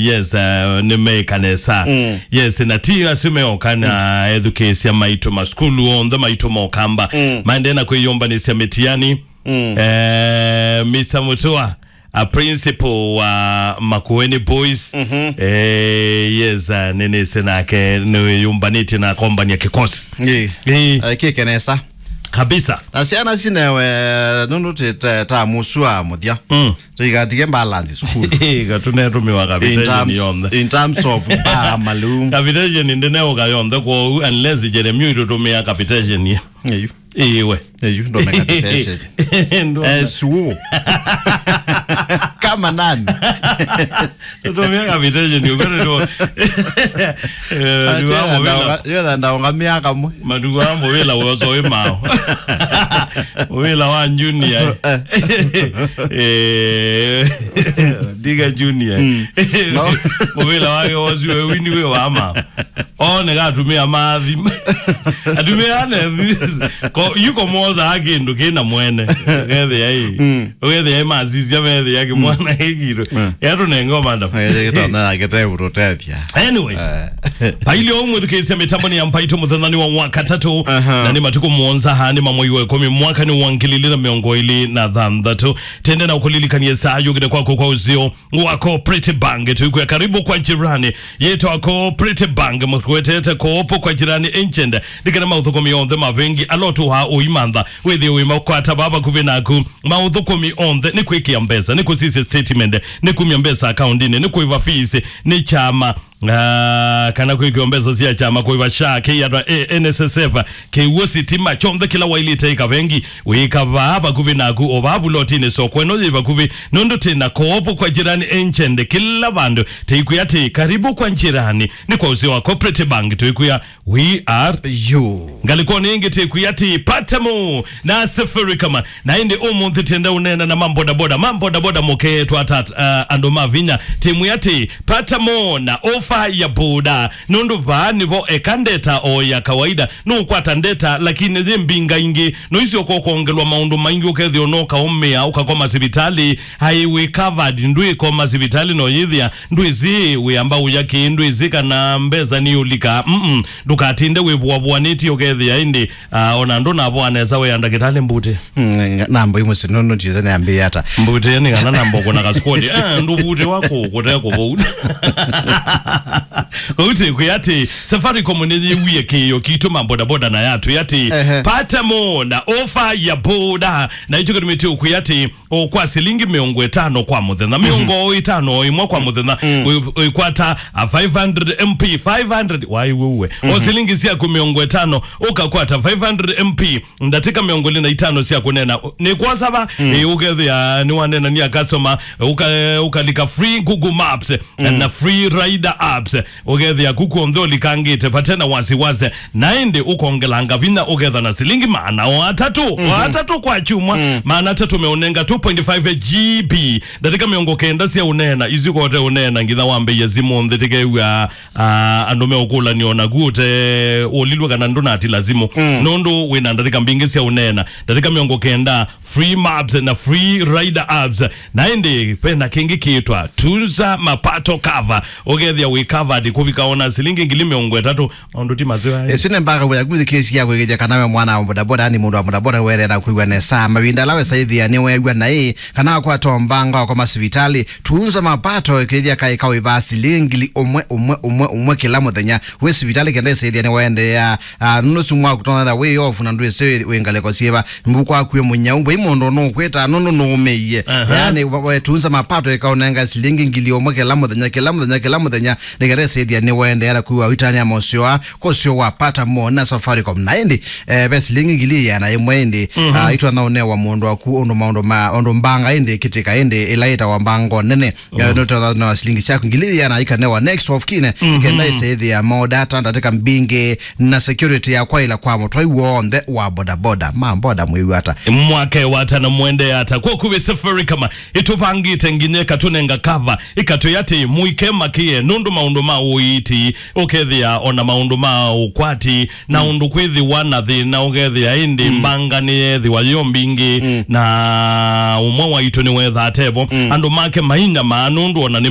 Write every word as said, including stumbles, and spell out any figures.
Yes, uh, nĩmeĩka nesa. Mm. Yes, na ti asu meoka na ethukĩĩsya maitũ masukulu onthe maitũ mokamba. Mm. Maendee na kwĩyũmbanĩsya mĩtiani. Mm. Eh, Mister Mutua, a principal wa Makueni Boys. Mhm. Eh, yes, uh, nĩnĩsĩ nake nĩwĩyũmbanĩtye na akombany'a kĩkosi. Ĩĩ. Ĩĩ. Ekĩke nesa. Kabisa. Na syana cinewe nũndũ ti ta, ta mũsua mũthya. Mm. Tũigatige balance sukulu. Ĩĩ, ka tũnetũmĩwa capitation yonthe. In terms of bar, malum. Capitation ndĩneũka yonthe kwoou unless Jeremio itũtũmĩa capitation ye. Ĩĩ. Ĩĩ we. Ĩĩ, ndome capitation. Ndome. Esuo. Kama nani? Tũtũmĩa capitation, ũkwĩrĩtwo. Eh, nĩ wa mũvĩla. Yothe ndaũngamĩa kamwe. Matukũ aa mũvĩla wĩ ũso wĩ mao. Mũvĩla wa junior. Eh, ndiga junior. Mm. No. Mũvĩla wake wosi we wini wĩ wa mao. One ka atumĩa mathi. Atumĩa ane, ko, yuko moza kĩndũ kĩna mwene. Ũkethĩa ĩ. Mm. Ũkethĩa ĩ masisya methĩa kĩmwana kĩkirũ. Mm. Yatũnenga madam. Ĩĩ, kĩtona yake te kũtũtethya. Anyway. Eh. Paili o mwĩthukĩĩsya mĩtambo nĩ ya Mbaitũ mũthenya nĩ wa wakatatũ. Aha. Na nĩ matukũ mũonza ha nĩ ma mwei wa ĩkũmi mwaka nĩ wa ngili ilĩ na mĩongo ĩlĩ na thanthatũ. Tende na ũkũlilikanie saa yũkĩte kwako kwa ũseo wa Cooperative Bank. Tũikwĩa karibu kwa jirani. Yĩtwa Cooperative Bank, mũkwetete koopo kwa jirani agent. Nĩ kana maũthũkũmi onthe ma vengi ala ũtũaa ũimantha. Wĩthĩe wĩ makwata vaa vakuvĩ naku. Maũthũkũmi onthe nĩ kwĩkĩa mbesa, nĩ kũsisya statement, nĩ kumya mbesa akaundinĩ, nĩ kũĩva fees, nĩ kyama, ah, kana kwĩkĩwa mbesa sya kyama, kũĩva SHA, K R A, N S S F, kĩw'ũ, sitima, kyonthe kĩla wailĩte ĩka vengi, wĩka vaa vakuvĩ naku, o vaa vulotinĩ, soko ĩno yĩ vakuvĩ, nũndũ twĩ na koopo kwa jirani agent kĩla vandũ. Tĩikwĩa atĩ, karibu kwa jirani, nĩ kwa ũseo wa Cooperative Bank, tũikwĩa, we are you. Ngalĩkonĩ ĩngĩ tĩkwĩa atĩ, Patemo na Safaricom, na ĩndĩ ũmũnthĩ tĩenda ũneena na mambodaboda, mambodaboda mũkeetwa ata, uh, andũ ma vinya, tĩmwĩa atĩ, Patemo na ofa ya boda, nũndũ vaa nĩvo eka ndeta o ya kawaida, nũkwata ndeta, lakini yĩ mbinga ingĩ, no icio ũkokongelwa maũndũ maingĩ, ũkethĩa ũnokaũmĩa, ũkakoma sivitalĩ, aĩ wĩ covered, ndwĩkoma sivitalĩ, no yĩthĩa, ndwĩsĩ wĩamba ũya kĩĩ, ndwĩsĩ kana mbesa nĩ ũlika, mm, ndũkatinde wĩvũavũanĩtye, ũkethĩa ĩndĩ, ah, ona ndũnavoa nesa, wĩa ndakĩtalĩ mbuti. Mm, namba imwe sinono tize nĩambĩĩa ata. Mbuti nĩ kana namba ũkũna kasukoni. Eh, ndũvuti wako kũte kũvou. Kũu tĩkwĩa atĩ, Safaricom nĩyĩwie kĩĩo kitũ ma bodaboda na yatwĩa atĩ, ehe, Patemo na ofa ya boda. Na ĩkyo kĩtumĩte ũkwĩa atĩ, o kwa silingi mĩongo ĩtano kwa mũthenya, mĩongo ĩtano o ĩmwe kwa mũthenya, mm, wĩ-, wĩkwata a five hundred M P, five hundred, waiw'e uwe. O silingi syaku mĩongo ĩtano, ũkakwata five hundred M P, ndatĩka mĩongo ĩlĩ na itano sya kũneena. Nĩ kwosa va, ĩ, ũkethĩa nĩwaneenania customer, ũka-, ũkalika free Google Maps, na free rider apps, ũkethĩa kuku onthe ũlikangĩte, vate na wasiwasi, na ĩndĩ ũkongelanga vinya ũketha na silingi maana o atatũ, o atatũ kwa kyumwa, maana atatũ meũnenga two point five G B, ndatĩka mĩongo kenda sya ũneena, isu kote ũneena nginya wambĩie simũ nthĩ, tĩkew'a, ah, andũ meũkũlany'a o naku ũte ũlilwe kana ndũnatila simũ, nũndũ wĩna ndatĩka mbingĩ sya ũneena, ndatĩka mĩongo kenda, free maps na free rider apps. Na ĩndĩ vena kĩngĩ kĩtwa Tunza Mapato Cover. Ũkethĩa wĩ covered kũvika ona silingi ngili mĩongo ĩtatũ, maũndũ ti maseo aĩ. Ĩsu nĩ mbaka ya kumĩthikĩĩsya kwĩkĩthya kana we mwana wa bodaboda, nĩ mũndũ wa bodaboda, werera kwĩw'a nesa. Mavinda ala wesa ĩthĩa nĩweew'a naĩ, kana wakwata mbanga wakoma sivitalĩ. Tunza Mapato ĩkĩthya kaĩ kawĩvaa silingi ngili ũmwe, ũmwe, ũmwe, ũmwe kĩla mũthenya. Wĩ sivitalĩ kenda ĩsa ĩthĩa nĩwaendeea. Ah, nũndũ ũsu mwaku ũtonya wĩ off na ndwĩsĩ wĩ ngalĩko syĩva. Mbuku waku wĩ mũnyau, vai mũndũ nũkwĩta nũndũ nũũmĩie. Aha. Yaani, wa-, wetunza mapato ĩkaũnenga silingi ngili ũmwe kĩla mũthenya, kĩla mũthenya, kĩla mũthenya, nĩgetha ĩsĩthĩa nĩwaendeea na kwĩw'a ũitanĩa mosyoa, kũsyo wa Patamo na Safaricom. Na ĩndĩ, eh, ve silingi ngili ĩana ĩmwe ĩndĩ, ah, itwatha ũnewa mũndũ waku ũndũ maũndũ ma, ũndũ mbanga ĩndĩ ĩkĩtĩka ĩndĩ ĩla ĩtawa mbango nene. Ya, no twa na silingi syaku ngili ĩana ikanewa next of kin, kenda ĩsĩthĩa mo data ndatĩka mbingĩ na security ya kwaĩla kwa mũtwai w'onthe wa bodaboda. Ma boda mwĩw'a ata? Mwake watana mwende ata? Kwa kuvĩ Safaricom ĩtũvangĩte nginya ĩkatũnenga cover, ĩkatwĩa atĩ mũike makĩe nũndũ maũndũ ma ũiiti, ũkethĩa ona maũndũ ma ũkwati, na ũndũ kwĩthĩwa na thĩna, ũkethĩa ĩndĩ mbanga nĩyethĩwa yĩo mbingĩ, na ũmwe waitũ nĩwethaa tevo. Andũ make mainyamaa nũndũ ona nĩ